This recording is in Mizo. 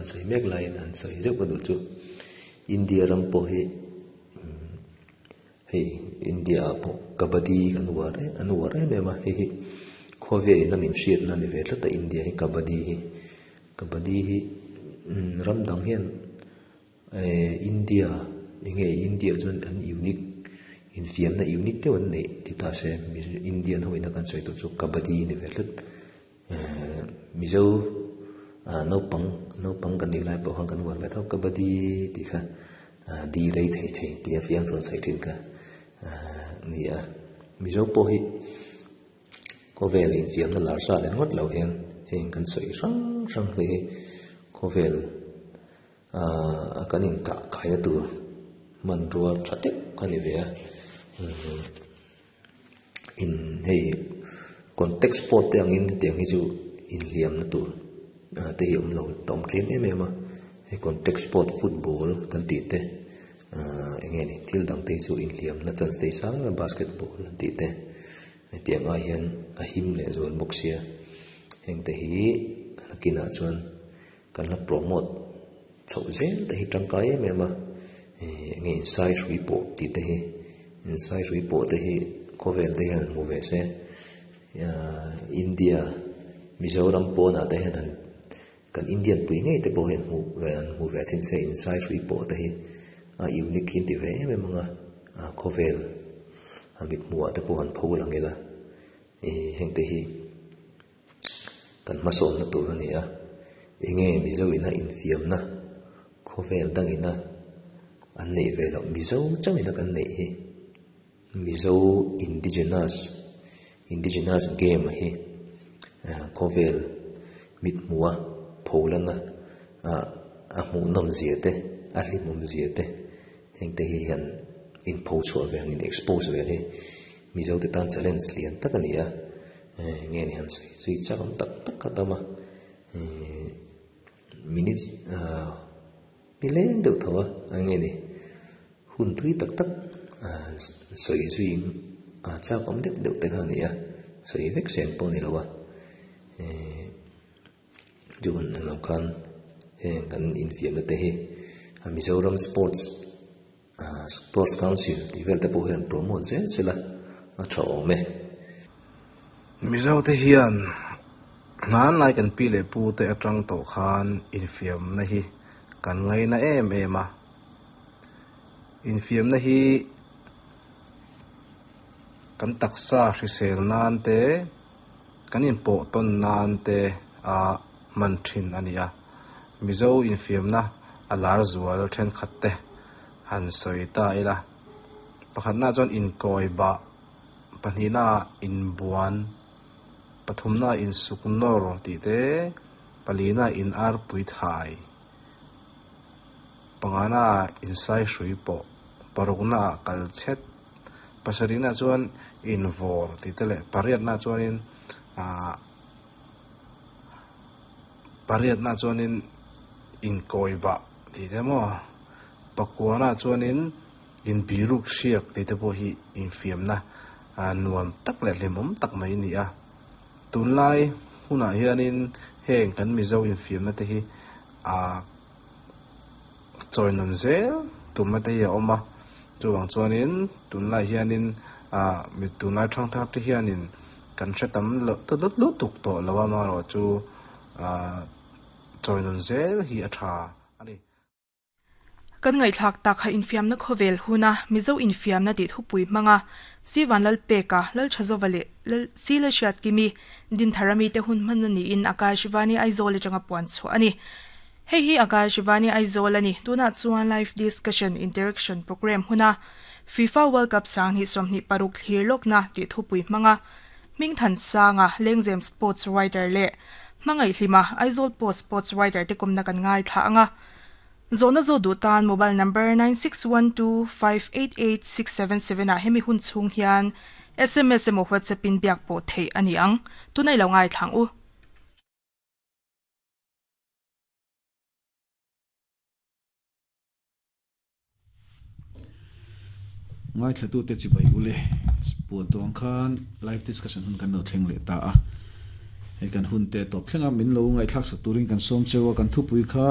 sawi mek laiin an sawi zeuh ka duh chu India ram pawh hi hei India ah pawh kabaddi kan uar em an uar em em a hei hi khawvel in a min hriatna a ni ve tlat a India hi kabaddi hi kabaddi hi ram dang hian Ehh India enge India chuan an unique infiamna unique deuh an neih ti ta se Indian ho ina kan sawi tur chu kabaddi a ni ve tlat ehh Mizo ah naupang naupang kan nih lai pawh khan kan uar ve tho kabaddi tih kha ah di rei thei thei tih a fiam chuan sawi thin kha ah ni a Mizo pawh hi khawvel infiamna lar sa leh ngawt lo hian heng kan sawi hrang hrang te hi khawvel. Ahh kan inkah kaina tur hmanrua tha deuh kha a ni ve a in hei contact sport te angin hetiang hi chu inhliamna tur te hi awm lo a awm tlem em em a hei contact sport football kan tih te ahh eng nge ni thil dang te hi chu inhliamna chance te hi sang em em a basketball an tih te hetiang ai hian a him leh zual bawk sia heng te hi nakinah chuan. Kan la promote chhoh zel te hi tangkai em em a, ih enge insai hrui pawh tih te hi insai hrui pawh te hi khawvel te hian hmu ve se ahh India Mizoram pawnah te hian han kan Indian pui ngei te pawh hian hmuh ve an hmu ve chin se insai hrui pawh te hi a unique hi an ti ve em em ang a ah khawvel a mithmuhah te pawh han pho lang ila ih heng te hi. Kan hmasawnna tur a ni a, enge Mizo ina infiamna khawvel dangina an neih ve loh Mizo chauhina kan neih hi Mizo indigenous indigenous game hi khawvel mithmuha pholana a hmuhnawm zia te a hlimawm zia te hengte hi hian inpho chhuah ve ang in expose ve hi Mizo te tan challenge lian tak a ni a. Nge ni han sawi zui chak awm tak tak kha tam a ihh minutes ah nileng deuh tho a eng nge ni hun thui tak tak ah sawi zui in a chak awm deuh deuh te kha a ni a sawi vek sen pawh a ni lo a ihh chu hun ang lo khan heng kan infiamna te hi a Mizoram sports Sports Council tih vel te pawh hian promote zel sela a tha awm e. Mizo te hian hmanlai kan pi leh pu te atang tawh khan infiamna hi kan ngaina em em a. Infiamna hi kan taksa hrisel nan te, kan inpawh tawn nan te a hman thin a ni a. Mizo infiamna a lar zual thenkhat te han sawi ta ila. Pakhatna chuan inkawi bah, pahnihna inbuan, pathumna insuk nawr tih te, palina in arpui thai, pangana insai hrui pawh, parukna kal chhet, pasarihna chuan invawr tih te leh pariatna chuanin ah Pariatna chuanin inkawi bah tih te maw, pakuana chuanin inbiruk hriak tih te pawh hi infiamna nuam tak leh hlimawm tak mai a ni a. Tunlai hunah hianin heng kan Mizo infiamna te hi a chawi nun zel tumna te hi a awm a, chuvang chuanin tunlai hianin tunlai thangthar te hianin Kan hre tam loh ta lut lutuk tawh lo a, amaherawhchu chawi nun zel hi a tha a ni. Kan ngaihthlak tak kha infiamna khawvel huna Mizo infiamna tih thupui hmanga Sivan Lalpeka, Lalthazova leh Sile Hriatkimi, Dinthara mite hun hmanna niin Akashvani Aizawl atanga puan chhuah a ni. Hei hi Akashvani Aizawl a ni. Tunah chuan Live Discussion Interaction Programme huna FIFA World Cup 2026 thlir lawkna tih thupui hmanga Hmingthan Sanga, Lengzem Sports Writer leh Hmangaihhlima, Aizawl Post Sports Writer te kawmna kan ngaithla ang a. Zawhna zawh duh tan mobile number 9612588677 ah hemi hun chhung hian sms emaw WhatsApp in biak pawh theih a ni ang. Tunah i lo ngaithla ang u. Ngaithlatute chibai ule puan tawh ang khan live discussion hun kan lo thleng leh ta a, hei kan hun te tawp thlenga min lo ngaihthlak sak turin kan sawm cheu a, kan thupui kha.